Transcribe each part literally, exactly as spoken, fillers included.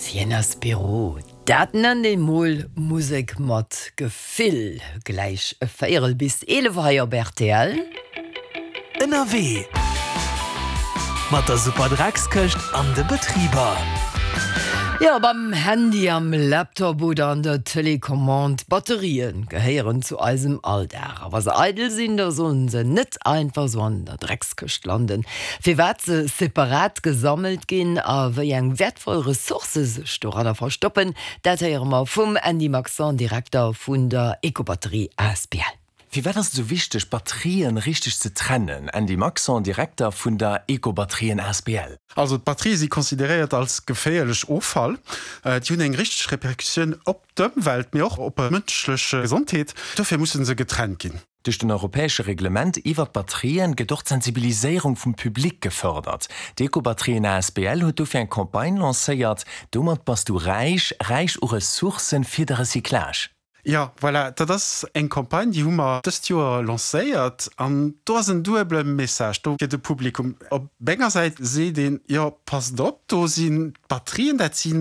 Hyenas Bureau, dat nennt een mol Musek mat Gefill. Gläich e Véierel bis eelef hei op rtl. Ënnerwee mat der Superdreckskëscht an de Betriber. Jo, beim Handy, am Laptop oder an der Telecommande, Batterien gehéieren zu eisem Alldag. A wa se eidel sinn, da sollen se net einfach sou an der Dreckskëscht landen. Firwat se separat gesammelt ginn a wéi eng wäertvoll Ressourcë sech doranner verstoppen, dat héiere mer vum Andy Maxon, Direkter vun der Ecobatterie asbl. Firwat ass et esou wichteg, Batterien richteg ze trennen? Andy Maxon, Direkter vun der Ecobatterien asbl. Also d'Batterië si consideréiert als geféierlech Offall. Déi hunn eng richteg Repercussioun op d'Ëmwelt, mee och op d'mënschlech Gesondheet. Dofir musse se getrennt ginn. Duerch den europäesche Reglement iwwert d'Batterien gëtt och d'Sensibiliséierung vum Public gefërdert. D'Ecobatterien asbl huet dofir eng Campagne lancéiert, Domat bass du räich, räich u Ressourcen fir de Recyclage. Jo, voilà, dat ass eng Campagne, déi hu mer dëst Joer lancéiert an do ass en duebele Message do fir de Publikum. Op enger Säit seet een, jo, passt op, do sinn d'Batterien, dat si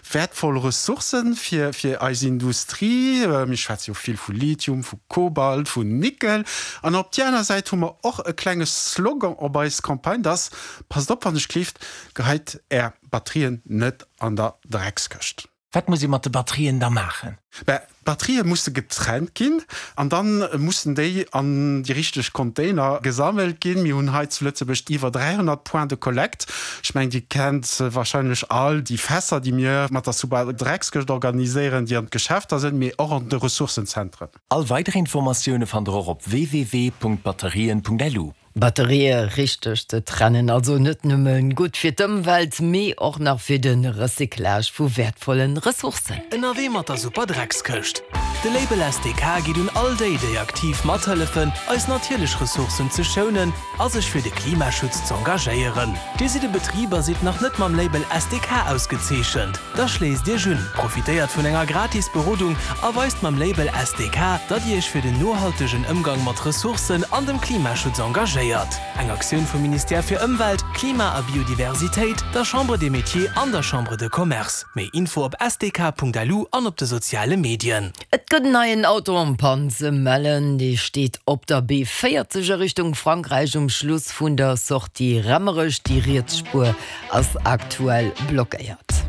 wäertvoll Ressourcen fir fir eis Industrie, mir schwätze jo vill vu Lithium, vu Kobalt, vun Nickel. An op déi aner Säit hu mer och e klenge Slogan op eis Campagne, dat ass, Passt op, wann ech gleeft, geheit Är Batterien net an der Dreckskëscht. Wat muss ee mat de Batterien da maachen? Mä d'Batterië musse getrennt ginn an da mussen déi an déi richteg Container gesammelt ginn. Mir hunn hei zu Lëtzebuerg iwwer dräihonnert Points de collecte. Ech mengen, Dir kennt wahrscheinlech all déi Fässer, déi mir mat der Suba-Dreckskëscht organiséieren, déi an d'Geschäfter sinn, mee och an de Ressourcenzentren. All weider Informatioune fannt der och op www.batterien.lu. Batterië richteg ze trennen, also net nëmme gutt fir d'Ëmwelt, mee och nach fir de Recyclage vu wäertvollen Ressourcen. Ënnerwee mat der Super Dreckskëscht. De Label S D K geet un all déi, déi aktiv mathëllefen, eis natierlech Ressourcen ze schounen a sech fir de Klimaschutz z'engagéieren. Dir sidd e Betrib a sidd nach net mam Label S D K ausgezeechent? Da schléisst Iech un, profitéiert vun enger gratis Berodung a weist mam Label S D K, datt Dir Iech fir den nohaltegen Ëmgang mat Ressourcen an dem Klimaschutz engagéiert. Eng Aktioun vum Ministère fir Ëmwelt, Klima a Biodiversitéit, der Chambre des Métiers an der Chambre de Commerce. Méi Info op S D K Punkt L U an op de soziale Medien. Et gëtt en neien Auto en panne ze mellen. Dee steet op der B véierzeg a Richtung Frankräich um Schluss vun der Sortie Raemerech. Déi riets Spuer ass aktuell blockéiert.